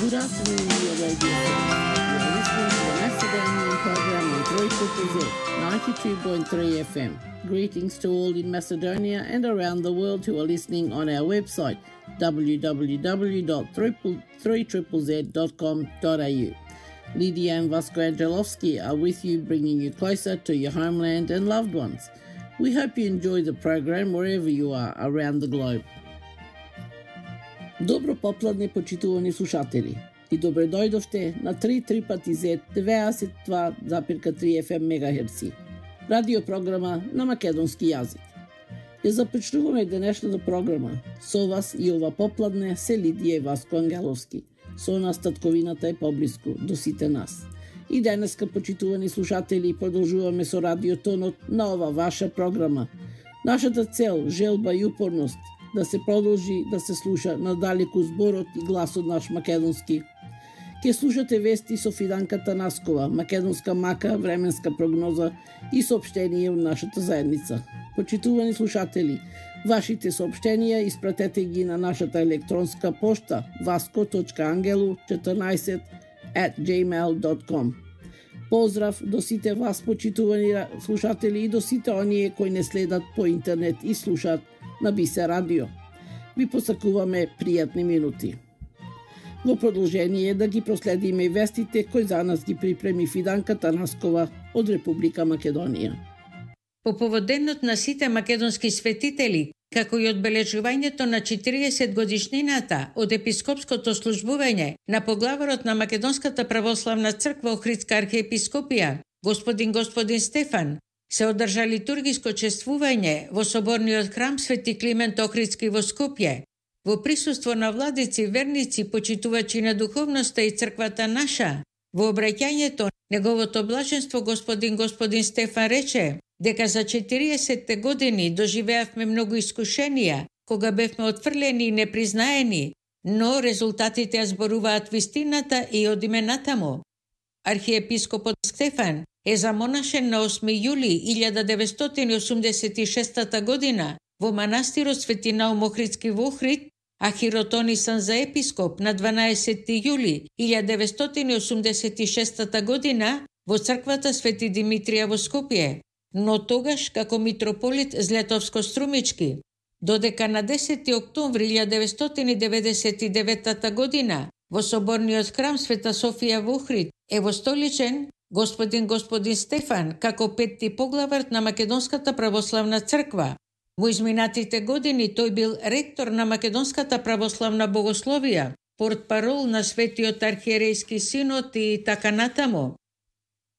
Good afternoon, your radio friends. You are listening to the Macedonian program on 92.3 FM. Greetings to all in Macedonia and around the world who are listening on our website, www.3ZZZ.com.au. Lydia and Vasco Angelovsky are with you, bringing you closer to your homeland and loved ones. We hope you enjoy the program wherever you are around the globe. Добро попладне, почитувани слушатели, и добре дојдовте на 3 пати Z 92,3 FM мегахерци, радио програма на македонски јазик. Ја започнуваме денешната програма. Со вас и ова попладне се Лидија и Васко Ангеловски. Со нас татковината е поблиску до сите нас. И денеска, почитувани слушатели, продолжуваме со радиотонот на ова ваша програма. Нашата цел, желба и упорност да се продолжи да се слуша надалеку зборот и гласот наш македонски. Ке слушате вести со Фиданка Танаскова, македонска мака, временска прогноза и соопштение од нашата заедница. Почитувани слушатели, вашите соопштенија испратете ги на нашата електронска пошта vasco.angelu14@gmail.com. Поздрав до сите вас, почитувани слушатели, и до сите оние кои не следат по интернет и слушаат на Бисе радио. Ви посакуваме пријатни минути. Во продолжение да ги проследиме и вестите кои за нас ги припреми Фиданка Танаскова од Република Македонија. По повод денот на сите македонски светители, како и одбележувањето на 40 годишнината од епископското службување на поглаварот на Македонската православна црква Охридска архиепископија, господин Стефан, се одржа литургиско чествување во соборниот храм Свети Климент Охридски во Скопје, во присуство на владици, верници, почитувачи на духовноста и црквата наша. Во обраќањето неговото блаженство господин Стефан рече дека за 40 години доживеавме многу искушенија, кога бевме отфрлени и непризнаени, но резултатите ја зборуваат вистината и од имената му. Архиепископот Стефан е замонашен на 8 јули 1986 година во манастирот Свети Наум Охридски во Охрид, а хиротонисан за епископ на 12 јули 1986 година во црквата Свети Димитрија во Скопје, но тогаш како митрополит Злетовско-Струмички, додека на 10 октомври 1999 година во соборниот храм Света Софија во Охрид е востоличен господин Стефан како петти поглавар на Македонската православна црква. Во изминатите години тој бил ректор на Македонската православна богословија, портпарол на Светиот архиерејски синод и така натаму.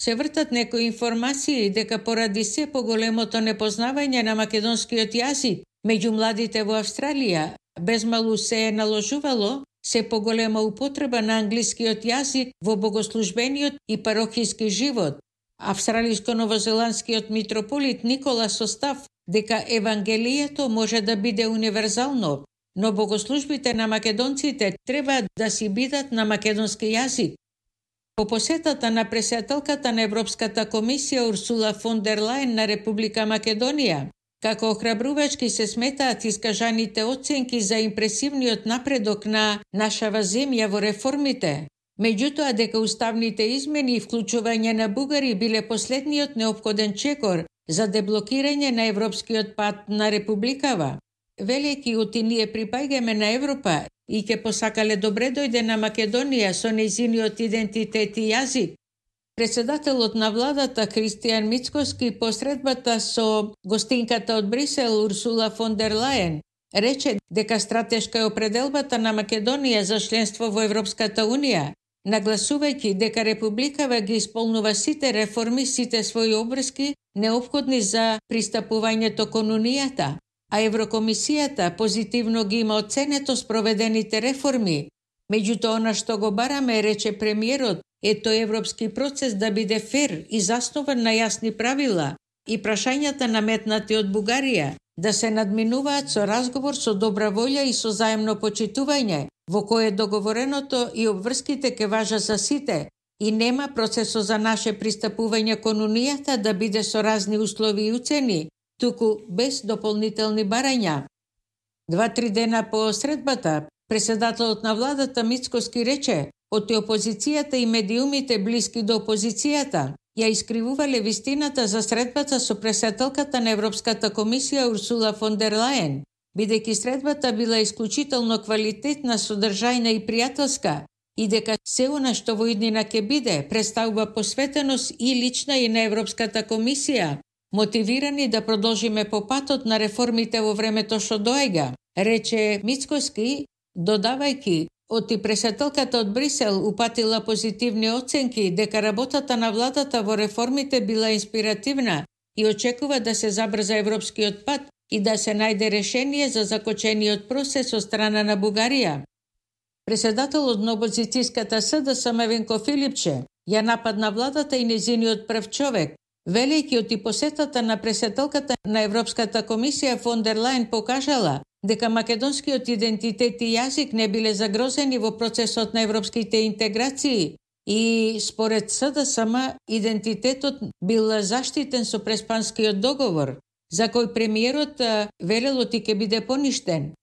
Се вртат некои информации дека поради се поголемото непознавање на македонскиот јазик меѓу младите во Австралија, безмалу се е наложувало се поголема употреба на англискиот јазик во богослужбениот и парохиски живот. Австралиско-новозеландскиот митрополит Никола состав дека Евангелието може да биде универзално, но богослужбите на македонците треба да си бидат на македонски јазик. По посетата на председателката на Европската комисија Урсула фон дер Лајен на Република Македонија, како охрабрувачки се сметаат искажаните оценки за импресивниот напредок на нашава земја во реформите. Меѓутоа дека уставните измени и вклучување на бугари биле последниот неопходен чекор за деблокирање на европскиот пат на републикава. Велики оти ние припаѓаме на Европа и ќе посакале добре дојде на Македонија со нејзиниот идентитет и јазик. Председателот на владата Христијан Мицкоски посредбата со гостинката од Брисел Урсула фон дер Лајен рече дека стратешка е определбата на Македонија за членство во Европската Унија, нагласувајќи дека републикава ги исполнува сите реформи, сите своји обврски неопходни за пристапувањето кон Унијата, а Еврокомисијата позитивно ги има оценето спроведените реформи. Меѓутоа, она што го бараме, рече премиерот, е тој европски процес да биде фер и заснован на јасни правила и прашањата наметнати од Бугарија да се надминуваат со разговор со добра волја и со заемно почитување, во кое договореното и обврските ке важа за сите и нема процесот за наше пристапување кон Унијата да биде со разни услови и уцени, туку без дополнителни барања. 2-3 дена по средбата, Председателот на владата Мицкоски рече од опозицијата и медиумите блиски до опозицијата ја искривувале вистината за средбата со председателката на Европската комисија Урсула фон дер Лајен, бидејќи средбата била исклучително квалитетна, содржајна и пријателска, и дека се она што во иднина ќе биде представува посветеност и лична и на Европската комисија, мотивирани да продолжиме по патот на реформите во времето што доаѓа, рече Мицкоски, додавајќи, оти председателката од Брисел упатила позитивни оценки дека работата на владата во реформите била инспиративна и очекува да се забрза европскиот пат и да се најде решение за закочениот процес од страна на Бугарија. Председателот на опозицијската СДСМ Венко Филипче ја нападна владата и незиниот прв човек, велејќи оти посетата на председателката на Европската комисија фон дер Лајен покажала дека македонскиот идентитет и јазик не биле загрозени во процесот на европските интеграции и според СДСМ идентитетот бил заштитен со Преспанскиот договор, за кој премиерот велел оти ќе биде поништен.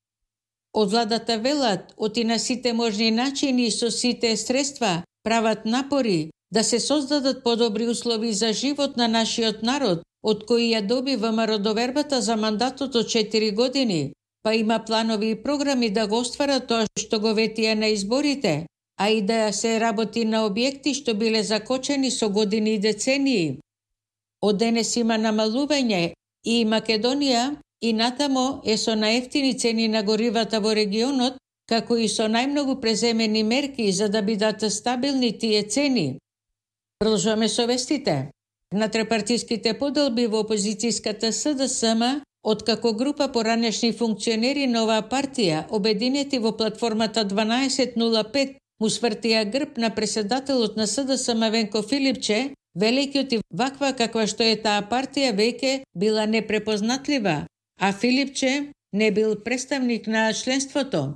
Од владата велат оти на сите можни начини и со сите средства прават напори да се создадат подобри услови за живот на нашиот народ, од кои ја доби ВМРО довербата за мандатот од 4 години, па има планови и програми да го остварат тоа што го ветија на изборите, а и да се работи на објекти што биле закочени со години и децении. Од денес има намалување и Македонија и натамо е со наевтини цени на горивата во регионот, како и со најмногу преземени мерки за да бидат стабилни тие цени. Продолжуваме со вестите. На трепартиските поделби во опозицијската СДСМ, откако група поранешни функционери на оваа партија, обединети во платформата 1205, му свртија грб на председателот на СДСМ Венко Филипче, велејќи оти ваква каква што е таа партија веќе била непрепознатлива, а Филипче не бил представник на членството.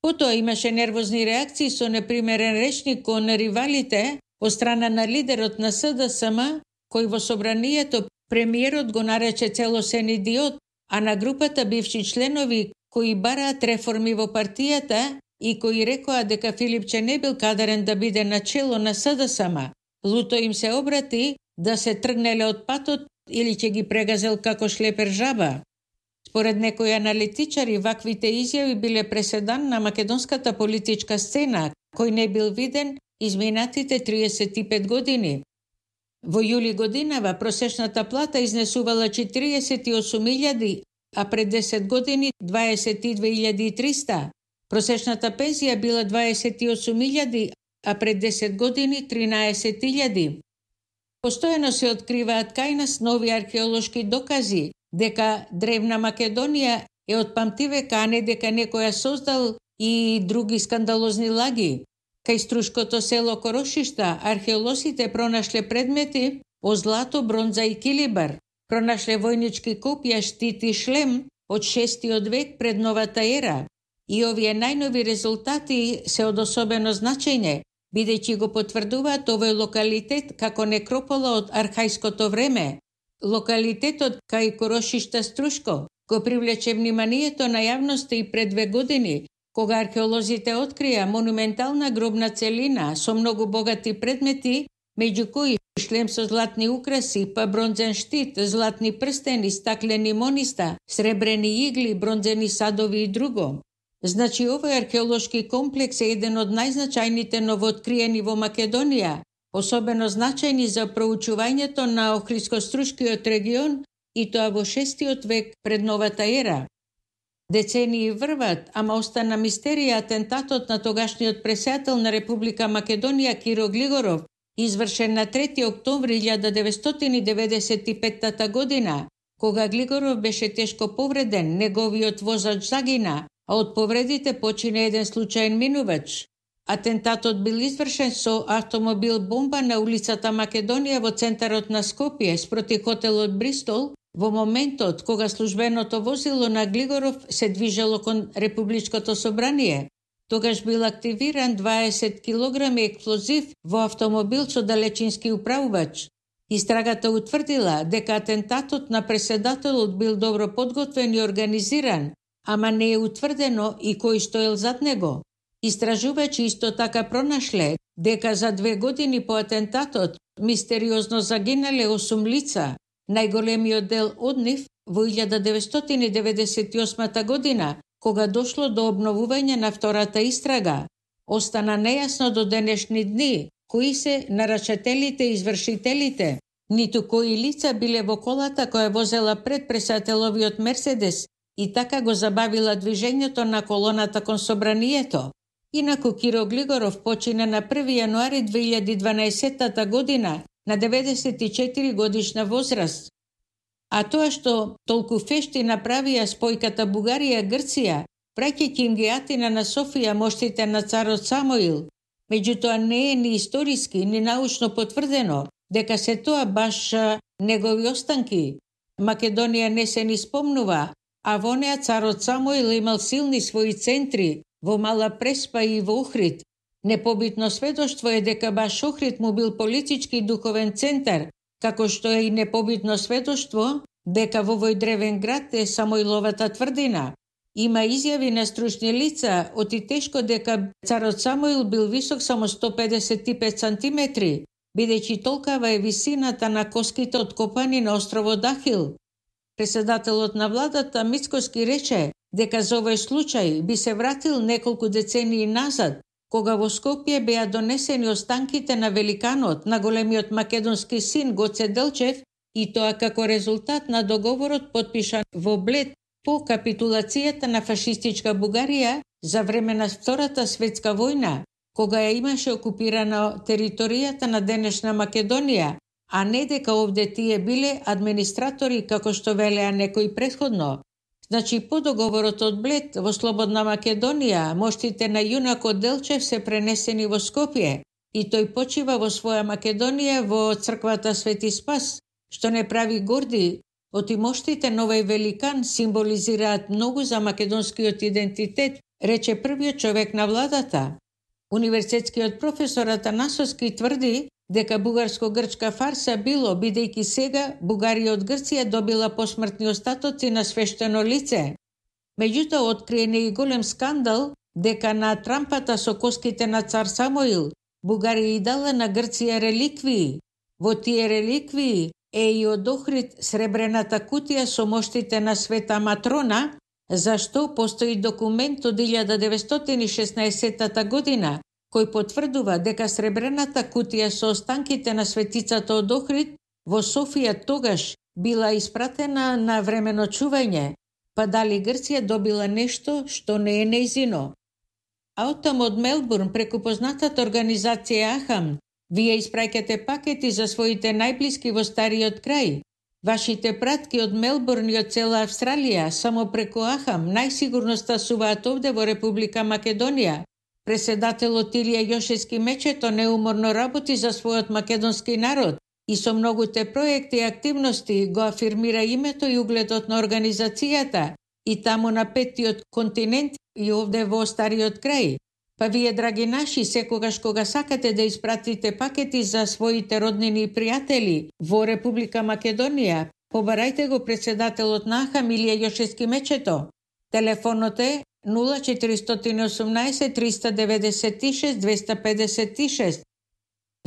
Потоа имаше нервозни реакции со непримерен речник кон ривалите од страна на лидерот на СДСМ, кој во собранието премиерот го нарече целосен идиот, а на групата бивши членови кои бараат реформи во партијата и кои рекоа дека Филипче не бил кадарен да биде начело на СДСМ. Луто им се обрати да се тргнеле од патот или ќе ги прегазел како шлепер жаба. Според некои аналитичари, ваквите изјави биле преседан на македонската политичка сцена, кој не бил виден изминатите 35 години. Во јули годинава просечната плата изнесувала 48.000, а пред 10 години 22.300. Просечната пензија била 28.000, а пред 10 години 13.000. Постојано се откриваат кај нас нови археолошки докази дека древна Македонија е од памтивека, а не дека некој ја создал и други скандалозни лаги. Кај струшкото село Корошишта археолозите пронашле предмети од злато, бронза и килибар. Пронашле војнички копија, штит и шлем од 6. век пред новата ера. И овие најнови резултати се од особено значење, бидејќи го потврдуваат овој локалитет како некропола од архајското време. Локалитетот кај Корошишта Струшко го привлече вниманието на јавноста и пред 2 години, кога археолозите открија монументална гробна целина со многу богати предмети, меѓу кои шлем со златни украси, па бронзен штит, златни прстени, стаклени мониста, сребрени игли, бронзени садови и друго. Значи, овој археолошки комплекс е еден од најзначајните новооткриени во Македонија, особено значајни за проучувањето на Охридско-Струшкиот регион и тоа во 6. век пред новата ера. Децении врват, ама остана мистерија атентатот на тогашниот председател на Република Македонија Киро Глигоров, извршен на 3. октомври 1995 година, кога Глигоров беше тешко повреден, неговиот возач загина, а од повредите почина еден случаен минувач. Атентатот бил извршен со автомобил бомба на улицата Македонија во центарот на Скопје спроти хотелот Бристол, во моментот кога службеното возило на Глигоров се движело кон Републичкото собрание. Тогаш бил активиран 20 кг експлозив во автомобил со далечински управувач. Истрагата утврдила дека атентатот на председателот бил добро подготвен и организиран, ама не е утврдено и кој стоел зад него. Истражувачи исто така пронашле дека за 2 години по атентатот мистериозно загинале 8 лица, најголемиот дел од нив во 1998 година, кога дошло до обновување на втората истрага. Остана нејасно до денешни дни кои се нарачателите и извршителите, ниту кои лица биле во колата која возела пред пресателовиот Мерседес и така го забавила движењето на колоната кон собранието. Инаку Киро Глигоров почина на 1 јануари 2012 година на 94 годишна возраст. А тоа што толку фешти направија спојката Бугарија-Грција, праќајќи им ги атина на Софија моштите на царот Самоил, меѓутоа не е ни историски, ни научно потврдено дека се тоа баш негови останки. Македонија не се ни спомнува, а во неа царот Самоил имал силни своји центри во Мала Преспа и во Охрид. Непобитно сведоштво е дека баш Охрид му бил политички и духовен центар, како што е и непобитно сведоштво дека во овој древен град е Самоиловата тврдина. Има изјави на стручни лица оти тешко дека царот Самоил бил висок само 155 сантиметри, бидејќи толкава е висината на коските откопани на островот Дахил. Председателот на владата Мицкоски рече дека за овој случај би се вратил неколку децении назад, кога во Скопје беа донесени останките на великанот, на големиот македонски син Гоце Делчев, и тоа како резултат на договорот подпишан во Блед по капитулацијата на фашистичка Бугарија за време на Втората светска војна, кога ја имаше окупирана територијата на денешна Македонија, а не дека овде тие биле администратори како што велеа некои претходно. Значи, по договорот од Блед во Слободна Македонија, моштите на јунакот Делчев се пренесени во Скопје и тој почива во своја Македонија во црквата Свети Спас, што не прави горди. Оти моштите на овој великан символизираат многу за македонскиот идентитет, рече првиот човек на владата. Универзитетскиот професор Атанасовски тврди дека бугарско-грчка фарса било, бидејќи сега Бугарија од Грција добила посмртни остатоци на свештено лице. Меѓутоа, откриен е и голем скандал дека на трампата со коските на цар Самоил Бугарија и дала на Грција реликвии. Во тие реликвии е и од Охрид сребрената кутија со моштите на Света Матрона, зашто постои документ од 1916 година, кој потврдува дека сребрената кутија со останките на светицата од Охрид во Софија тогаш била испратена на времено чување, па дали Грција добила нешто што не е нејзино. А оттам од Мелбурн преку познатата организација Ахам, вие испраќате пакети за своите најблиски во стариот крај. Вашите пратки од Мелбурн и од цела Австралија само преку Ахам најсигурно стасуваат овде во Република Македонија. Председателот Илија Јошевски Мечето неуморно работи за својот македонски народ и со многуте проекти и активности го афирмира името и угледот на организацијата и таму на петтиот континент и овде во стариот крај. Па вие, драги наши, секогаш кога сакате да испратите пакети за своите роднини и пријатели во Република Македонија, побарајте го председателот на Ахам Илија Јошевски Мечето. Телефонот е 0418 396 256.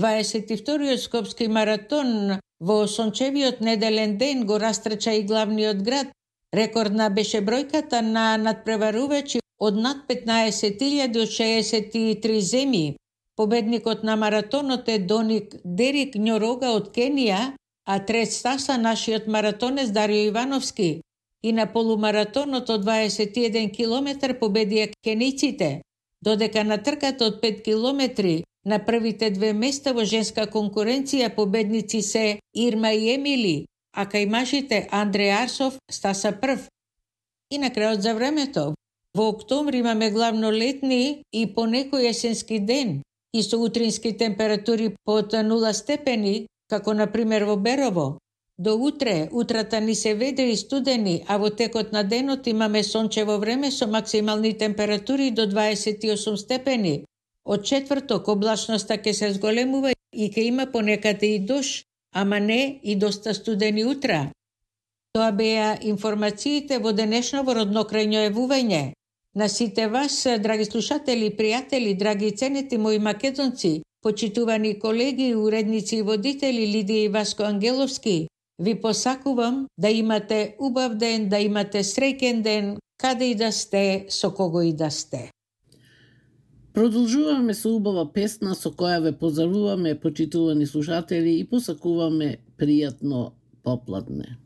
22-иот скопски маратон во сончевиот неделен ден го растрча и главниот град. Рекордна беше бројката на надпреварувачи од над 15.000 од 63 земји. Победникот на маратонот е Дерик Њорога од Кенија, а трет стаса нашиот маратонец Дарио Ивановски. И на полумаратонот од 21 километар победија кениците, додека на трката од 5 километри на првите 2 места во женска конкуренција победници се Ирма и Емили, а кај мажите Андреј Арсов стаса прв. И на крајот за времето. Во октомври имаме главно летни и понекој есенски ден и со утрински температури под 0 степени, како на пример во Берово. До утрата ни се ведри и студени, а во текот на денот имаме сончево време со максимални температури до 28 степени. Од четврток облачноста ќе се зголемува и ќе има понекаде и дош, ама не и доста студени утра. Тоа беа информациите во денешно во роднокрајно јавување. На сите вас, драги слушатели, пријатели, драги ценети мои македонци, почитувани колеги, уредници и водители Лидија и Васко Ангеловски, ви посакувам да имате убав ден, да имате среќен ден, каде и да сте, со кого и да сте. Продолжуваме со убава песна со која ве поздравуваме, почитувани слушатели, и посакуваме пријатно попладне.